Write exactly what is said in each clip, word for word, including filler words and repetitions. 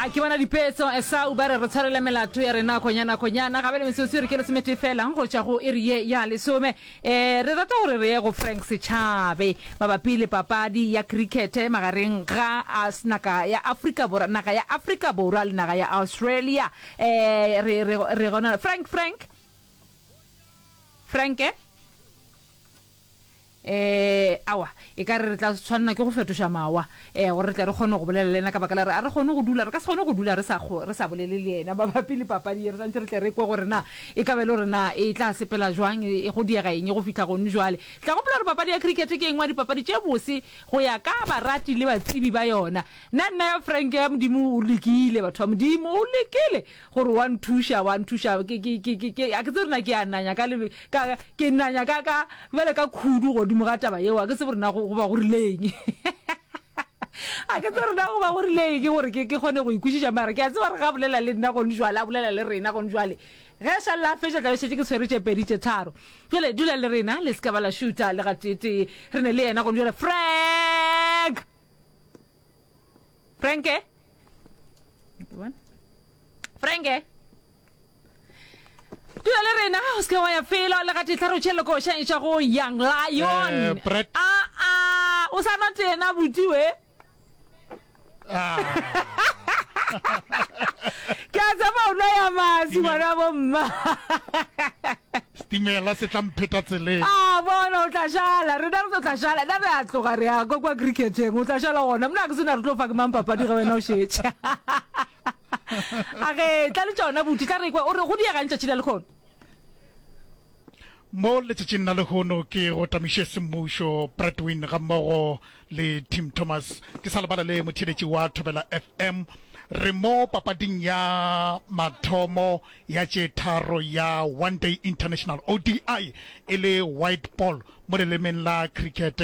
Ya, ke bona dipetso Esau ba re re tshwarele melato ya rena konyana konyana gabe le metsotso e re ke lesomete fela go tšwa go iri ye ya lesome. Eh, re rata gore re ye go Frank Setšhabe mabapi le papadi ya cricket magareng ga naga ya Afrika Borwa, naga ya Afrika Borwa le naga ya Australia. Eh, re re re gona Frank Frank Frank eh? Eh, aowa, e ka re re tla tshwanela ke go fetoša mawa, eh, gore re tle re kgone go bolela le yena, ka baka la gore a re kgone go dula, re ka se kgone go dula re sa, re sa bolele le yena mabapi le papadi ye. Re swanetše re tle re kwe gore na e ka ba e le gore na e tla sepela jwang, e, go diega eng go fihla gone jwale. Tla gopola gore papadi ya cricket ke e nngwe ya dipapadi tše bose go ya ka barati le batsebi ba yona. Nna, nna ya Frank ya Modimo o lekile, batho ba Modimo, o lekile gore wa nthuša, wa nthuša. Ke, ke, ke, ke, ke, a ke tsebe gore na ke a nanya ka lebe, ka, ke nanya ka, ka, bjale ka khudu godimo ga taba yeo. A ke tsebe gore na go, go ba go rile eng. A ke tsebe gore na go ba go rile eng gore ke, ke kgone go e kwešiša, mara ke a tseba gore ga bolela le nna gone jwale, a bolela le rena gone jwale. Ge a šalela a fetša, tla be šetše ke tshwere tše pedi, tše tharo. Bjale dula le rena, le se ka ba la šutha le gateetee. Re ne le yena gone jwale. Frank! Frank? Frank? Dula le rena, o se ke wa ya felo le gatee. Tla re tšhele koša e tšwa go Young Lion. Eh, Brett. A a, o sa nwa tee na buti we? Ah. Ke a tseba o nwa ya maswi ngwana bo mma. Setimela se tla mpheta tseleng. A bona o tla šala, rena re tlo tla šala. Nna re a tloga re ya kwa kwa cricketeng, o tla šala gona. Mna ke sena re tlo fa ke mang papadi ge wena o šetše. A ge tla le tšona buti, tla re kwe o re go diegang tšatši la lekhono. Mo letšatšing la lehono ke go tamiše semmušo Bradwin gammogo le Tim Thomas. Ke sa lebala le motheeletši wa Thobela F M. Re mo papading ya mathomo ya tše tharo ya One Day International, O D I, e le white ball mo lelemeng la cricket,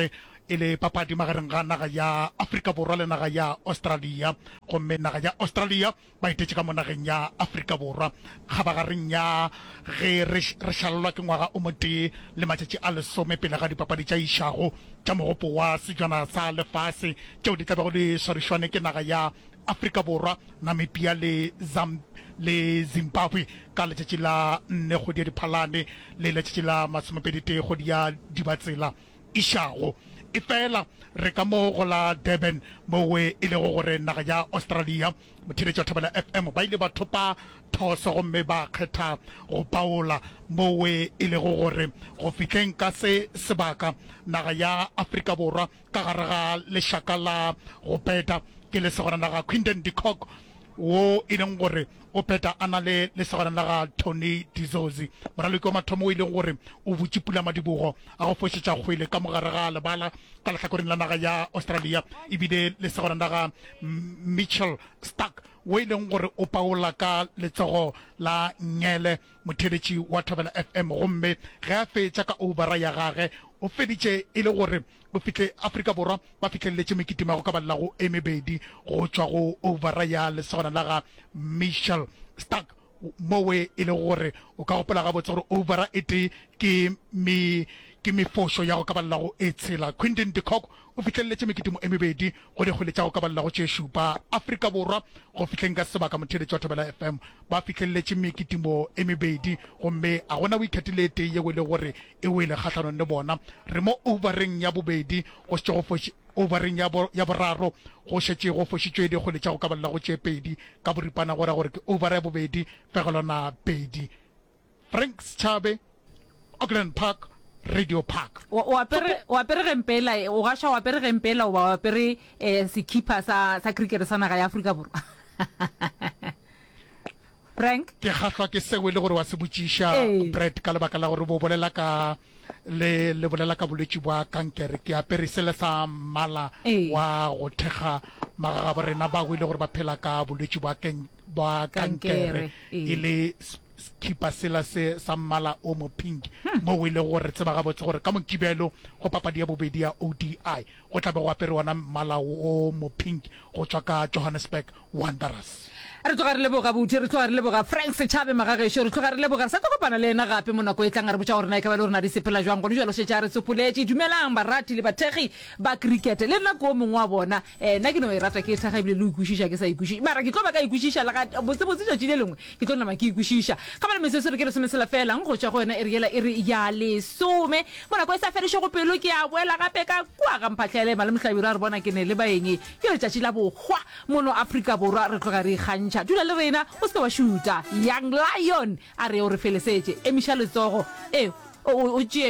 e le papadi magareng ga naga ya Afrika Borwa le naga ya Australia. Gomme naga ya Australia ba etetše ka mo nageng ya Afrika Borwa kgabagareng ya ge re, re šalelwa ke ngwaga o motee le matšatši a lesome pele ga dipapadi tša išago tša Mogopo wa Sejwana sa Lefase tšeo di tla bego di swarišwane ke naga ya Afrika Borwa, Namibia le Zam, le Zimbabwe ka letšatši la nne kgwedi ya Diphalane le letšatši la masomepedi-tee kgwedi ya Dibatsela išago. Efela re ka mo go la Durban mowe e lego gore naga ya Australia, motheeletši wa Thobela F M, ba ile ba thopa thoso gomme ba kgetha go paola mowe e lego gore go fihleng ka se sebaka naga ya Afrika Borwa ka gare ga lešaka la go peta ke lesogana la ga Quinton de Kock wo e leng gore o peta a na le lesogana la ga Tony de Zorzi, moraloki wa mathomo o e leng gore o butše pulamadibogo a go fošetša kgwele ka mogare ga lebala ka lehlakoreng la naga ya Australia, e bile lesogana la ga Mitchell Starc wo e leng gore o paola ka letsogo la nngele, motheeletši wa Thobela F M, gomme ge a fetša ka oubara ya gage o feditše e le gore o fihle Afrika Borwa ba fihleletše mekitimo ya go ka balela go e mebedi go tšwa go oubara ya lesogana la ga Mitchell Starc, mowe e lego gore o ka gopola gabotse gore oubara e tee ke me ke mefošo ya go ka balela go e tshela. Quinton de Kock o fihleletše mekitimo e mebedi go dikgwele tša go ka balela go tše šupa. Afrika Borwa go fihleng ka sebaka motheeletši wa Thobela F M ba fihleletše mekitimo e mebedi gomme a gona wicket le e tee yeo e lego gore e wele kgahlanong le bona. Re mo oubareng ya bobedi go šetše go foši oubareng ya bo ya boraro go šetše go fošitšwe dikgwele tša go ka balela go tše pedi ka boripana go ra gore ke oubara ya bobedi fegelwana pedi. Frank Schabe, Auckland Park, Radio Park. O, o apere, o apere gempela, o gaša o apere gempela goba o apere eh, sekhipha sa, sa cricket sa naga ya Afrika Borwa. Frank? Ke kgahlwa ke seo e le gore wa se botšiša, Ee. Brett, ka lebaka la gore bo bolela ka le, le bolela ka bolwetši bwa kankere. Ke apere sele sa mmala Ee. wa go thekga magagabo rena bao e le gore ba phela ka bolwetši bwa ken-, bwa Kankere, kankere, e ee. le sekhipa sela se sa mmala o mo pink, moo e lego gore re tseba gabotse gore ka Mokibelo go papadi ya bobedi ya O D I go tla be go apere wona mmala o mo pink go tšwa ka Johannesburg Wanderers. Re tloga re leboga buti, re tloga re leboga Frank Setšhabe magagešo, re tloga re leboga. Re sa tlo kopana le yena gape mo nako e tlang a re botša gore na e ka ba le gore na di sepela jwang. Gone jwale o šetše a re tsopoletše. Dumelang barati le bathekgi ba krikete. Le nna ke o mongwe wa bona. Eh, nna ke no e rata ke e thekga ebile le go ikwešiša ke sa ikwešiše. Mara ke tlo ba ka ikwešiša le ga botsebotse tšatši le lengwe ke tlo nama ke ikwešiša. Ga bjale metsotso re ke lesometshela feela go tšwa go yona iri yela iri ya lesome. Mo nako e sa fedišego pelo ke a boela gape ka kua ga Mphahlele. Malome Hlabirwa a re bona ke ne le baeng. Ke letšatši la bohwa mono Afrika Borwa re tloga re ikgantšha. Dula le rena o se ke wa šuta. Young Lion a re o re felesetše. Emiša letsogo e o o tšee.